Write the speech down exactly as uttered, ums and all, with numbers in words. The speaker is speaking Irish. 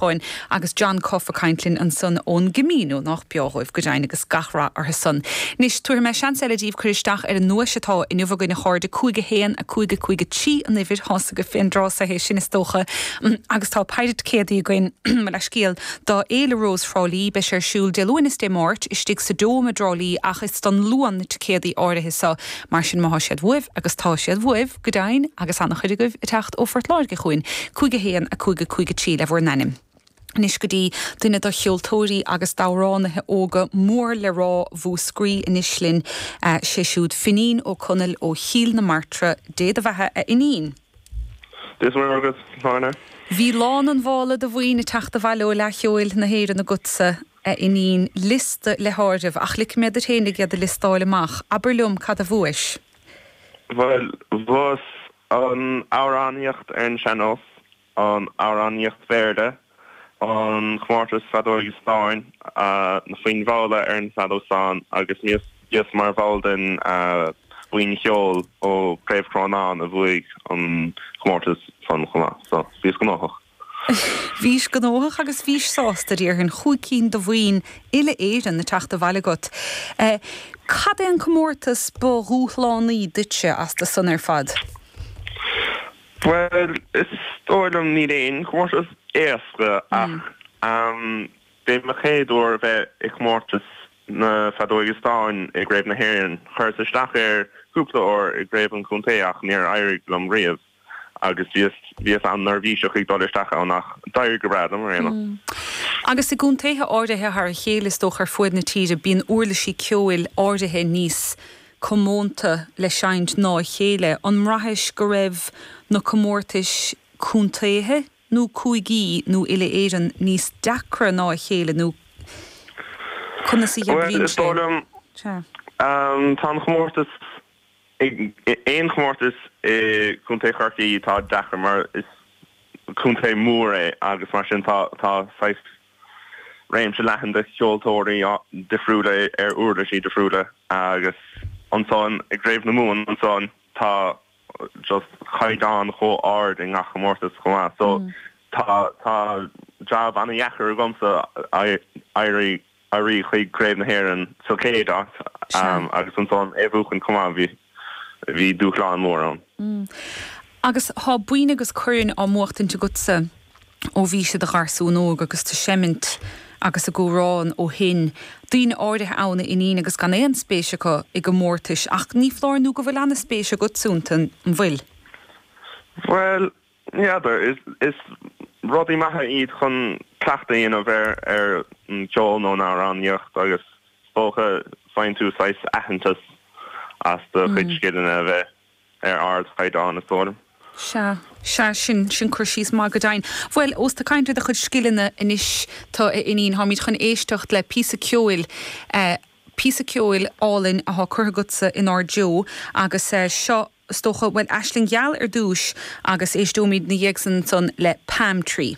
Cháin agus John Cuffe ag caint linn ansan ón gCamino nach beo dhóibh go deimhin agus gach rath orthu san. Anois tabharfaidh mé seans eile daoibh cur isteach ar an nduais atá inniu againn a chairde cúig a haon a cúig a cúig a trí an uimhir tá's agaibh fén dtráth é sin is dócha agus tá péire ticéadaí againn mo leithscéal do Fhéile Rós Thrá Lí beidh sé ar siúl Dé Luain is Dé Máirt istigh sa Dome i dTrá Lí ach is don Luan na ticéadaí áirithe seo mar sin má tá siad uaibh agus tá siad uaibh go deimhin agus an-chuid agaibh ag teacht ó Phort Láirge chugainn cúig a haon a cúig a cúig a trí le bhur n-ainm. Anois go dtí duine de cheoltóirí agus d'amhránaithe óga mór le rá Mhúscraí anois linn sé siúd Finín Ó Conaill ó Chill na Martra, Dé do bheatha a Fhinín. Dia is Muire agat, Áine. Bhí lán an mhála de mhaoin ag teacht abhaile ó Fhleadh Cheoil na hÉireann agatsa, a Fhinín, liosta le háireamh, ach ligfidh mé duit féinig iad a liostáil amach. Abair liom cad a bhuais? Bhuel, bhuas an amhránaíocht ar an sean-nós, an amhránaíocht Bhéarla, an comórtas feadóige stáin, na foinn mhalla ar an bhfeadóg stáin agus bhíos mar bhall den bhuíon cheoil ó Craobh Chrónáin a bhuaigh an comórtas san chomh maith. So, bhíos gnóthach. Bhís gnóthach agus bhís sásta, déarfainn, chúig cinn de mhaoin uile-Éireann ag teacht abhaile agat. Cad é an comórtas ba dhúshlánaí duitse astu san ar fad? Bhuel, is dóigh liom níl aon chomórtas éasca ach b'é mo chéad uair a bheith i gcomórtas na feadóige stáin i gCraobh na hÉireann. Chuireas isteach air cúpla uair i gCraobh an Chontae ach níor éirigh liom riamh agus bhíos bhíos an-neirbhíseach ag dul isteach ann ach d'éirigh go breá liom ar aon nós. Agus i gcontaetha áirithe thar a chéile is dócha ar fuaid na tíre bíonn uirlisí ceoil áirithe níos comónta le seinnt ná a chéile. An mbraithis go raibh na comórtais contaetha nó cúigí nó uile-Éireann níos deacra ná a chéile nó conas a Bhuel, oibríonn is sé? dóigh liom, Sea. tá an chomórtas, aon chomórtas i gContae Chorcaí tá deacair mar is contae mór é agus mar sin tá tá saghas réimse leathan de cheoltóirí difriúla ar uirlisí difriúla agus ansan i gCraobh na Mumhan ansan tá just caighdeán chomh ard i ngach comórtas chomh maith so tá tá jab an-dheacair agamsa éirí éirí chuig Craobh na hÉireann sa chéad áit Sea. agus ansan é a bhuachan chomh maith bhí bhí dúshlán mór ann. Agus tá boinn agus coirn á mbuachtaint agatsa ó bhís i do gharsún óg agus tú ag seimint agus ag amhrán ó shin. Daoine áirithe ann a Fhinín agus gan aon spéis acu i gcomórtais ach ní foláir nó go bhfuil an-spéis agatsa iontu, an bhfuil? Bhuel, n'fheadar, is is rudaí maithe iad chun cleachtadh a dhéanamh ar ar an cheol nó an amhránaíocht agus is dócha faigheann tú saghas aitheantas as do chuid scileanna a bheith ar ardchaighdeán, is dóigh liom. Sea, sea, sin, sin cur síos maith go deimhin. Bhuel, ós tú ag caint ar do chuid scileanna anois, tá, a Fhinín, táimid chun éisteacht le píosa ceoil, eh, píosa ceoil álainn athá curtha agatsa inár dtreo agus eh, seo, is dócha, bhuel, Aisling Gheal ar dtús agus éisteoimid 'na dhiaidh san ansan le Palm Tree.